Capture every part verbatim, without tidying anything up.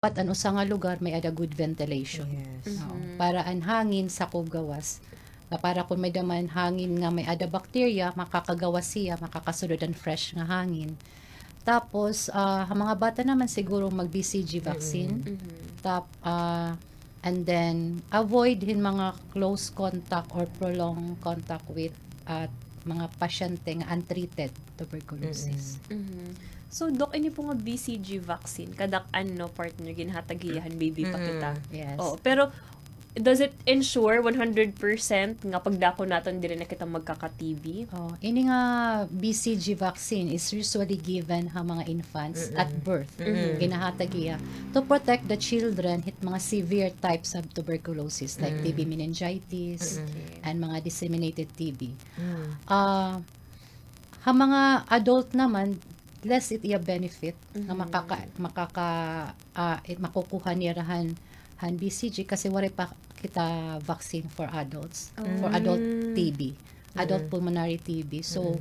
dapat an usa nga lugar may-ada good ventilation. Yes. Oo. Mhm. Para an hangin sakob gawas. Nga para kon may-ada man hangin nga may-ada bacteria, makakagawas hiya, makakasulod an fresh nga hangin. Tapos, ah, ha mga bata naman siguro mag-B C G vaccine. Mm-mm. Mhm. Tap-, ah, and then, avoid hin mga close contact or prolonged contact with, ah, mga pasyente nga untreated tuberculosis. Mm-mm. Mhm. So, Doc, ini po nga B C G vaccine, kadak-an, no, partner, ginhatag hiya han baby pa kita. Mm-mm. Yes. Oo, pero does it ensure one hundred percent nga pagdako naton diri na kita magkaka-T B? Oh, ini nga B C G vaccine is usually given ha mga infants at Mm-mm. birth. Mm-mm. Ginahatag hiya to protect the children hit mga severe types of tuberculosis like Mm. T B meningitis Mm-mm. and mga disseminated T B. Mm. Ah, ha mga adult naman, less it iya benefit nga Mhm. makaka-, makaka-, ah, it makukuha nira han, han B C G kasi waray pa kita vaccine for adults, for adult Mm. T B, adult Mm. pulmonary T B. So, Mm.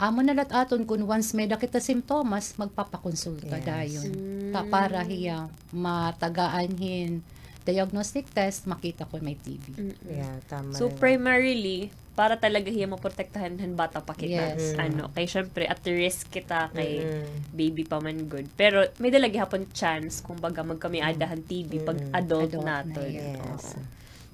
amo na la it aton kun once may-ada kita simptomas, magpapakonsulta Yes. dayon. Ta-, para Mm. hiya matagaan hin diagnostic test, makita kon may T B. Mm-mm. Yeah, tama So, na. primarily, para talaga hiya maprotektahan han bata pa kita. Yes. Mm. Ano, kay syempre, at risk kita kay Mm-mm. baby pa man gud. Pero may-ada la gihapon chance, kumbaga, magkamay-ada han T B pag Mm-mm. adult Adult na naton. yun. Yes. Oo.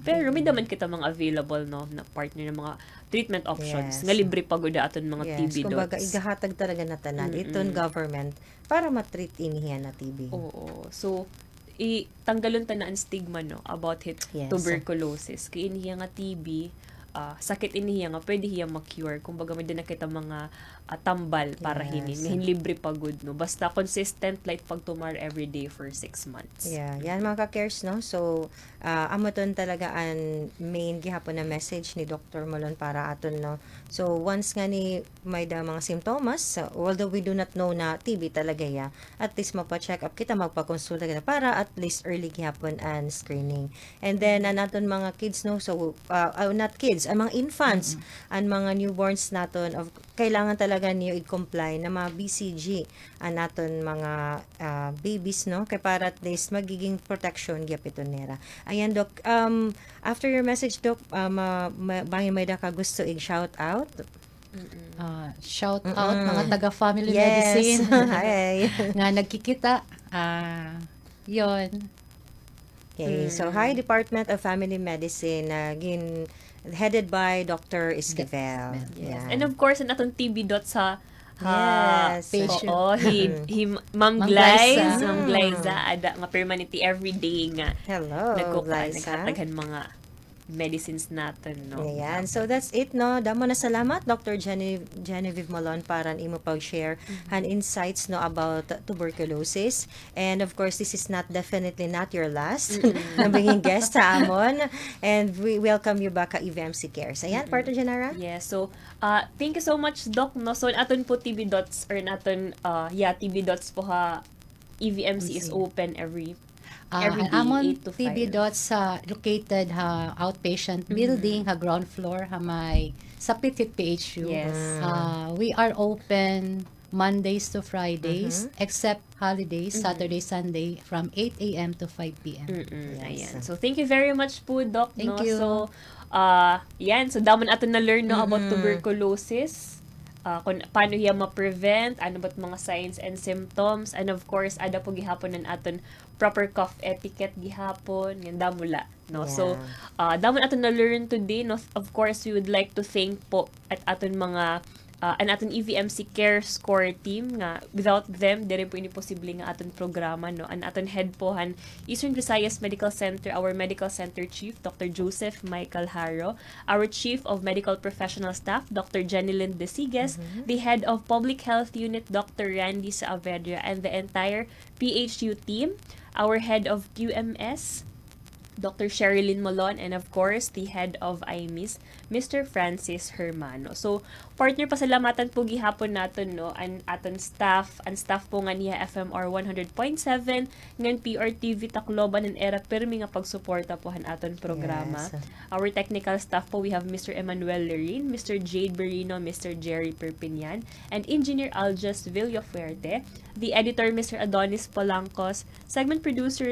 Pero may-ada man kita mga available, no, na partner nga mga treatment options Yes. nga libre pa gud aton mga Yes. T B Kumbaga, dots. igahatag talaga na tanan Mm-mm. iton government para ma-treat ini hiya na T B. Oo. So, i-, tanggalon ta na an stigma, no, about hit Yes. tuberculosis. Kay ini hiya nga T B, ah, sakit ini hiya nga pwede hiya ma-cure. Kumbaga, may-ada na kita mga, ah, tambal para hinin, Yes. nga hin libre pa gud, no. Basta consistent la it pagtumar everyday for six months. Yeah, yan, mga ka-cares, no. So, ah, amo ton talaga an main gihapon na message ni Doctor Molon para aton, no. So, once ngani may-ada mga simptomas, although we do not know na T B talaga hiya, at least magpa-check up kita, magpakonsulta kita para at least early gihapon an screening. And then, an aton mga kids, no, so, uh, uh, not kids, an mga infants, Mm-mm. an mga newborns naton, of, kailangan talaga niyo i-comply na ma-B C G an aton mga, ah, babies, no, kay para at least magiging protection gihap iton nira. Ayan, Doc. Um, after your message, Doc, ah, ma-, ma-, bangin may-ada ka gusto i-shout out? Mm-mm. Ah, shout out, Mm-mm. mga taga Family Yes. Medicine Hi. nga nagkikita. Ah, yon. Okay, so Mm. hi, Department of Family Medicine, ah, gin-, headed by Doctor Esquivel. Esquivel. Yes. Yeah. And of course, an aton T B dots ha, ha, Yes. Patient. oo, hi, Mm. hi Ma'am Ma'am Glyza. Glyza. Ma'am Glyza, Mm. ada nga permanente everyday nga Hello, nagkukuan, Glyza. naghatag han mga medicines naton, no? Ayan. So, that's it, no? Damo na salamat, Doctor Gene-, Genevieve Molon, para han imo pag-share Mhm. han insights, no, about tuberculosis. And of course, this is not, definitely not your last Mm-mm. na maging guest ha amon. And we welcome you back ha E V M C Cares. Ayan, Mm-mm. Partner Janara? Yes. So, uh, thank you so much, Doc, no? So, aton po T B dots, or naton, uh, yeah, T B dots po ha E V M C is Yes. open every Ah, every an day, amon eight to T B five. dots sa located ha outpatient Mm-hmm. building, ha ground floor, ha may sapit hit P H U. Yes. Mm. Ah, we are open Mondays to Fridays, Mm-hmm. except holidays, Mm-hmm. Saturday, Sunday, from eight A M to five P M. Mm-mm, Yes. ayan. So, thank you very much po, Doc, Thank no? you. So, ah, yan. So, damo na aton na-learn, no, about Mm-hmm. tuberculosis. Ah, kung paano hiya ma-prevent, ano ba't mga signs and symptoms, and of course, ada po gihapon an aton proper cough etiquette gihapon, ngan damo la, no? So, Yeah. ah, damo an aton na-learn today, no? Of course, we would like to thank po at aton mga, ah, an aton E V M C Cares core team nga without them, diri po ini posible nga aton programa, no? An aton head po han Eastern Visayas Medical Center, our medical center chief, Doctor Joseph Michael Haro, our Chief of Medical Professional Staff, Doctor Jenny Lynn Desiges, Mm-hmm. the Head of Public Health Unit, Doctor Randy Saavedra, and the entire P H U team, our Head of Q M S, Doctor Sherilyn Molon, and of course, the head of I M I S, Mister Francis Hermano. So, partner, pasalamatan po gihapon naton, no, an aton staff, an staff po ngan hiya F M R one hundred point seven, ngan P R T V Tacloban, an ira pirmi nga pagsuporta po han aton programa. Yes. Our technical staff po, we have Mister Emmanuel Lerin, Mister Jade Berino, Mister Jerry Perpignan, and Engineer Alges Villafuerte. The editor, Mister Adonis Polancos. Segment producer,